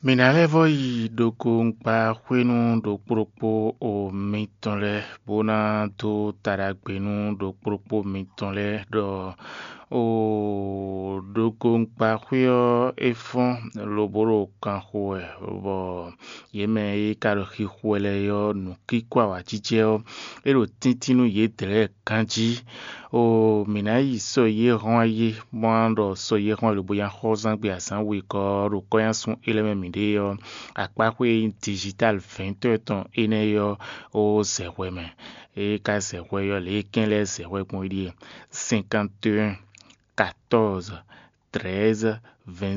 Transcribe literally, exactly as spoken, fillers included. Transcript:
Mǐ ná lɛ́ vɔ́ yi ɖokóŋkpa xwénu ɖokpó ɖokpó o mitɔn lɛ́ɛ, bó ná dó taɖagbe nú ɖokpó ɖokpó mitɔn lɛ́ɛ ɖɔ o ɖokóŋkpa xwé ɔ́ é fɔ́n lobo ɖo kan xo wɛ, bɔ yě mɛ e ka ɖo xixo wɛ lɛ́ɛ ɔ́, nǔkíkó awǎjijɛ ɔ́, é ɖo tíntín nú yědɛɛ lɛ́ɛ ganjí. O mǐ ná yi sɔ yě hɔn ayé, bó ná ɖɔ sɔ yě hɔn lobo nya xɔ́zán gbe azǎn wegɔ́ ɔ́ ɖo kɔ́nyásun élɔ́ mɛ mǐ ɖe ɔ́, akpáxwé e nyí digital vɛ̌ntɔ́ tɔn énɛ́ ɔ́ ó zɛ hwɛ mɛ. É ka zɛ hwɛ ɔ́, lě e kɛ́n lɛ́ɛ zɛ hwɛ gbɔn é ɖíe: cinquante et un, quatorze, treize, vingt